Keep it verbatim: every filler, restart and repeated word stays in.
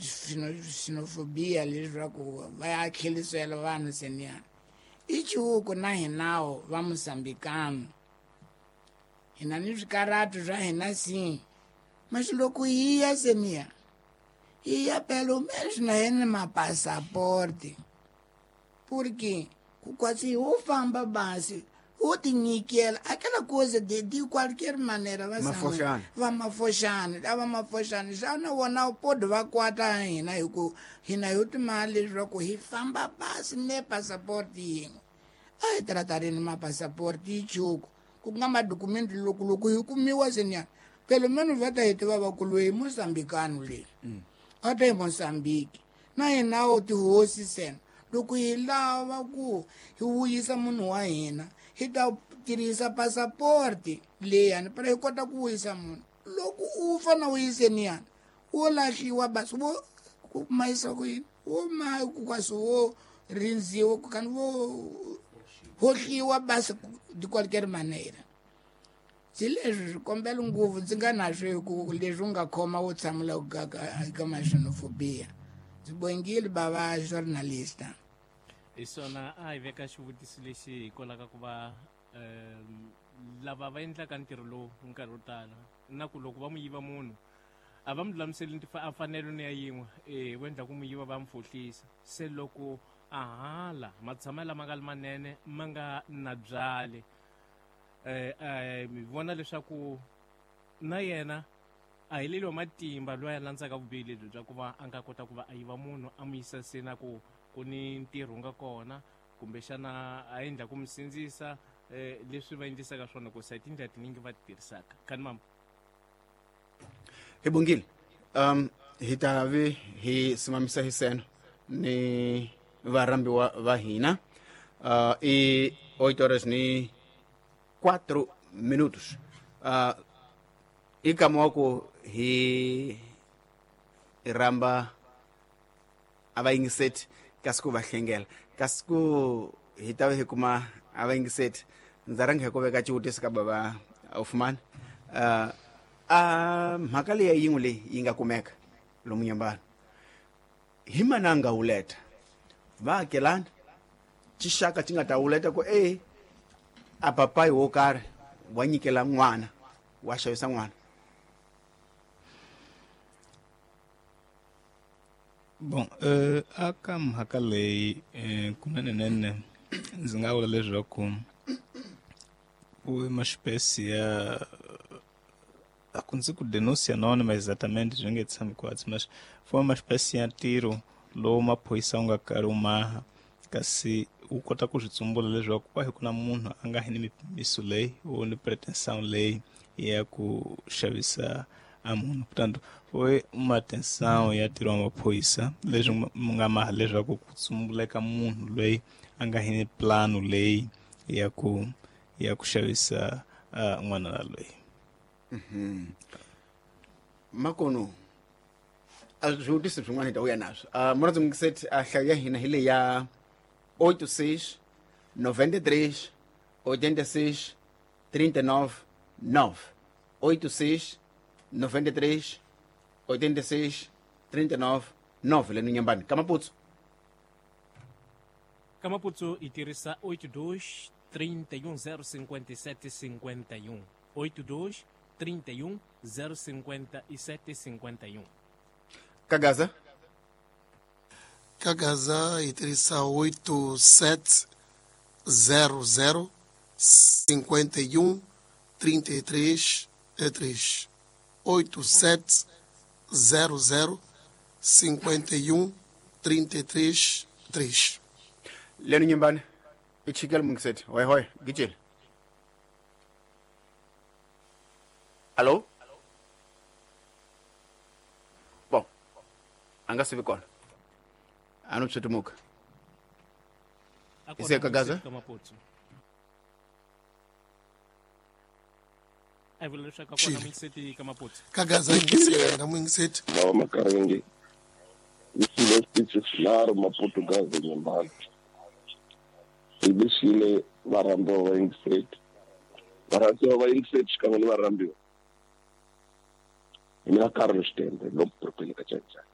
Xenofobia leswaku va ya tlherisela vanhu seniyana i chihuku na hinawo va Mozambikano hina ni swikaratu swa hina si mas loko hi ya seniya hi ya pelo menos na hina mapasaporte porque ku kwatsi ho famba basi ho tinyikela aquela coisa de, de qualquer maneira va Mafoxana. Va mafoxana lava mafoxana xana wona u pode va kwata hina hi ku hina hi timali leswaku hi famba basi ne passaporte yin'we a hi tratarini mapasaporte yi chuku ku nga madokumenti loko loko hi kumiwa seniya pelo menos va ta hi tiva va ku loyi Mozambikano leyi a ta hi Mozambique na hina tihosi sena loko hi lava ku hi vuyisa munhu wa hina hi ta tirhisa passaporte leyani para hi kota ku vuyisa munhu loko u fana u yiseniyana wo lahliwa basi wo ku mayisa ku yini wo ma ku kasi wo rindziwa kani wo hohliwa basi de qualquer maneira se leswi swikombelo ngopfu ndzi nga na swo hi ku leswi u nga khoma wo tshamela ku ka ma xenofobia ndzi bongile bava journalista. Hi swona a hi veka xivutiso lexi hikwalaho ka ku va um lava va endlaka ntirho lowu nkarhi wo tala na ku loko va mu yiva munhu a va mu lulamiseli mfanelo ni ya yin'we e va endla ku mu yiva va mu fohlisa se loko a hala matshamelo lama nga li manene ma nga na byale eh mi vona leswaku na yena a heleliwa matimba loyi a landzaka vubihi lebyi bya ku va a nga kota ku va a yiva munhu a mu yisa se na ku ku ni ntirho nga kona kumbexana a endla ku mi sindzisa eh leswi va endlisaka swona ku sa tindlela tiningi va ti tirhisaka kani mama hi bongile um hi ta vi hi simamisa hi seno ni varhambiwa va hina uh, i oito horas ni quatro minutos uh, i kama wa ku hi rhamba a va yingiseti kasi ku va hlengela kasi ku hi ta va hi kuma a va yingiseti ndza rhanga hi ku veka xivutiso ka bava Ufumani uh, a mhaka leyi yin'we leyi yi nga kumeka lomu nyambana hi mana nga wuleta vaakelani xixaka xi nga ta wuleta ku e a papayi wo karhi wa nyikela n'wana wa xavisa n'wana. Bom, uh, aka mhaka leyi eh, kunene ndzi nga vula leswaku ku uma espécie ya acontecer com denúncia anônima exatamente swi nge tshami kwatsi mas foi uma espécie ya ntirho lowu maphorisa wu nga karhi wu maha kasi wu kota ku swi tsumbula leswaku kwahi ku na munhu a nga hi ni mipimiso leyi wo ni pretensão leyi ya ku xavisa a munhu. Portanto, foi uma atenção ya ntirho wa maphorisa leswi mu nga maha leswaku ku tsumbuleka munhu loyi a nga hi ni plano leyi ya ku ya ku xavisa uh, n'wana loyi. Mm-hmm. Makono a swivutiso swin'wana hi ta vuya naswo uh, murhandzi mungiseti a hlayo ya hina hi leyi ya oito seis noventa e três oitenta e seis trinta e nove nove oito seis noventa e três oitenta e seis trinta e nove nove le Nyambani ka Maputsu ka Maputsu hi tirhisa oito dois trinta e um zero cinquenta e sete cinquenta e um oito dois trinta e um zero cinquenta e sete cinquenta e um. Kagaza? Kagaza itirisa oito sete zero zero cinquenta e um trinta e três três. oito sete zero zero cinquenta e um trinta e três três. Leno Nyambani, ichikela mungiseti. Hoi hoi, gijela. Alô? Bom, anga se vi kona. A no tshutumuka. Ise Kagaza? Kagaza ingiseti na mungiseti. Baba makaringi. Isile speeches naro Maputo Gaza Nyambani. Ibisile varambo va ingiseti. Varambo va ingiseti xikan'we ni varambiwa. Mina Carlos Tende lo propele ka Chanchan.